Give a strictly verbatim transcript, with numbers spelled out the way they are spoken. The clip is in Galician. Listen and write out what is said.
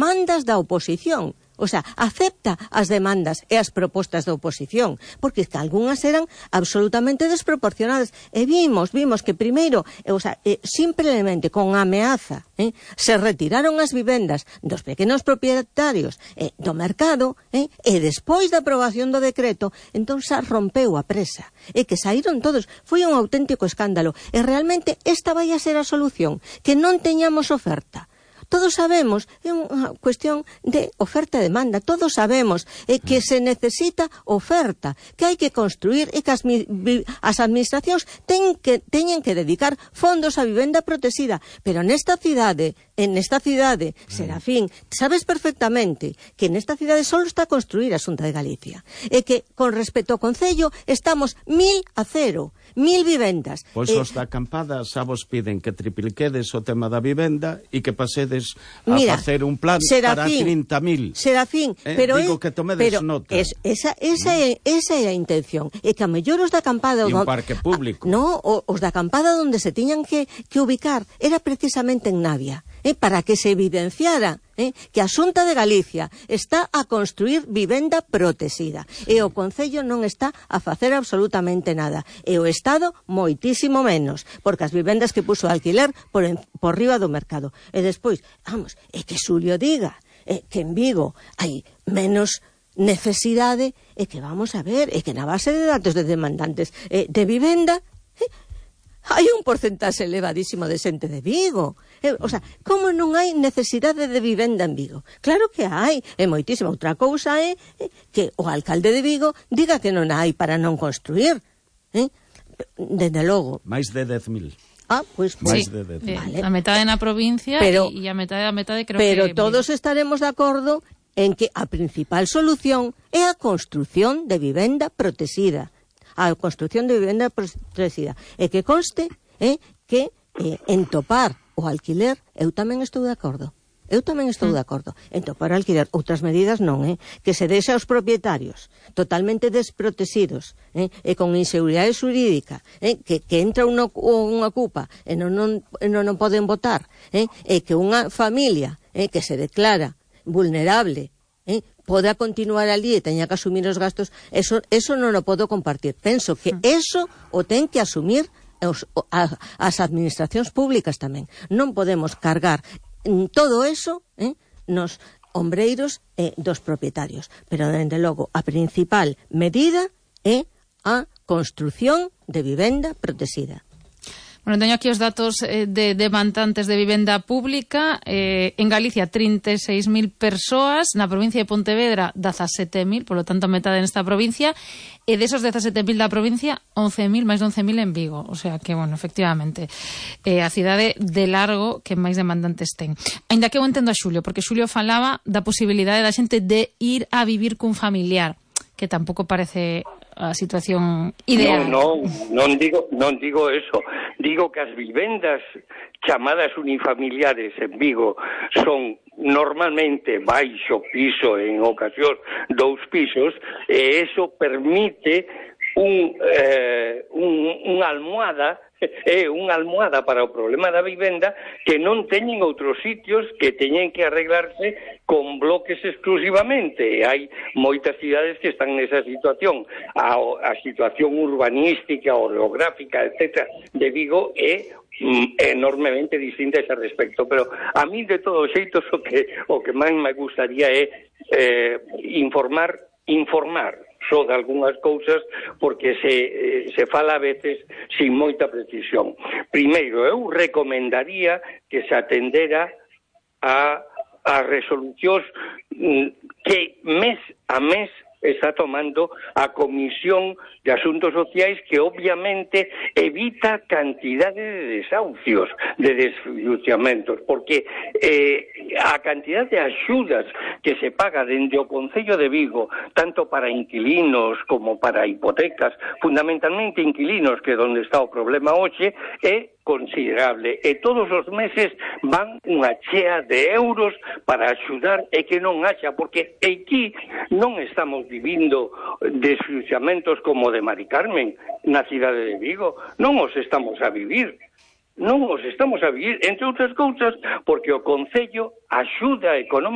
demandas da oposición. O sea, acepta as demandas e as propostas da oposición, porque que algunhas eran absolutamente desproporcionadas. E vimos, vimos que primeiro, o sea, eh, simplemente con ameaza, eh, se retiraron as vivendas dos pequenos propietarios eh, do mercado, eh, e despois da aprobación do decreto, entón xa rompeu a presa. E que saíron todos. Foi un auténtico escándalo. E realmente esta vai a ser a solución, que non teñamos oferta. Todos sabemos, é unha cuestión de oferta e demanda, todos sabemos eh, que se necesita oferta, que hai que construir e que as, as administracións ten que, teñen que dedicar fondos a vivenda protexida, pero nesta cidade, en esta cidade, Serafín, sabes perfectamente que nesta cidade só está a construir a Xunta de Galicia, e que con respecto ao Concello estamos mil a cero, mil vivendas. Pois eh, os da acampada xa vos piden que tripliquedes o tema da vivenda e que pasedes a Mira, facer un plan Serafín, para trinta mil. Serafín, eh, pero digo é, que tomedes pero nota. Es, esa, esa, é, esa é a intención. E que a mellor os da acampada... E un parque público. A, no, os da acampada onde se tiñan que, que ubicar era precisamente en Navia, eh, para que se evidenciara eh, que a Xunta de Galicia está a construir vivenda protexida e o Concello non está a facer absolutamente nada, e o Estado moitísimo menos, porque as vivendas que puso a alquiler por, en, por riba do mercado. E despois, vamos, é que Xulio diga eh, que en Vigo hai menos necesidade, e que vamos a ver, e que na base de datos de demandantes eh, de vivenda eh, hai un porcentaxe elevadísimo de xente de Vigo. Eh, o sea, como non hai necesidade de vivenda en Vigo? Claro que hai, e moitísima. Outra cousa é eh, que o alcalde de Vigo diga que non hai para non construir. Eh? Dende logo. Mais de dez mil. Ah, pois Sí, máis de dez mil. vale. A metade na provincia e a metade a metade creo pero que... Pero todos estaremos de acordo en que a principal solución é a construción de vivenda protexida. A construción de vivenda protexida. E que conste eh, que eh, en topar o alquiler, eu tamén estou de acordo. Eu tamén estou de acordo en topar o alquiler. Outras medidas non, eh? Que se deixa aos propietarios totalmente desprotegidos, eh? E con inseguridade xurídica, eh? que, que entra unha, unha cupa e non, non, non, non poden votar, eh? E que unha familia eh, que se declara vulnerable eh? poda continuar ali e teña que asumir os gastos, eso, eso non o podo compartir. Penso que eso o ten que asumir os, a, as administracións públicas tamén. Non podemos cargar todo eso eh, nos ombreiros eh, dos propietarios. Pero, dende logo, a principal medida é a construción de vivenda protexida. Bueno, teño aquí os datos eh, de demandantes de vivenda pública. Eh, en Galicia, trinta e seis mil persoas. Na provincia de Pontevedra, dezasete mil, polo tanto, a metade nesta provincia. E desos dezasete mil da provincia, once mil, máis de once mil en Vigo. O sea que, bueno, efectivamente, eh, a cidade de largo que máis demandantes ten. Ainda que eu entendo a Xulio, porque Xulio falaba da posibilidade da xente de ir a vivir cun familiar, que tampouco parece a situación ideal. Non, non, non digo, non digo eso. Digo que as vivendas chamadas unifamiliares en Vigo son normalmente baixo piso, en ocasión dous pisos, e eso permite un, eh, un, unha almohada é unha almohada para o problema da vivenda que non teñen outros sitios, que teñen que arreglarse con bloques exclusivamente. Hai moitas cidades que están nesa situación. A, a situación urbanística, orográfica, etcétera, de Vigo é enormemente distinta a ese respecto, pero a mí de todos xeitos o que o que máis me gustaría é eh, informar informar só de algunhas cousas, porque se, se fala a veces sin moita precisión. Primeiro, eu recomendaría que se atendera a, a resolucións que mes a mes está tomando a Comisión de Asuntos Sociais, que obviamente evita cantidade de desahucios, de desfinanciamentos, porque eh, a cantidad de axudas que se paga dende o Concello de Vigo, tanto para inquilinos como para hipotecas, fundamentalmente inquilinos, que é onde está o problema hoxe, é considerable, e todos os meses van unha chea de euros para axudar e que non haxa, porque aquí non estamos vivindo desfinanciamentos como de Mari Carmen na cidade de Vigo, non os estamos a vivir. non os estamos a vivir, entre outras cousas, porque o Concello axuda económica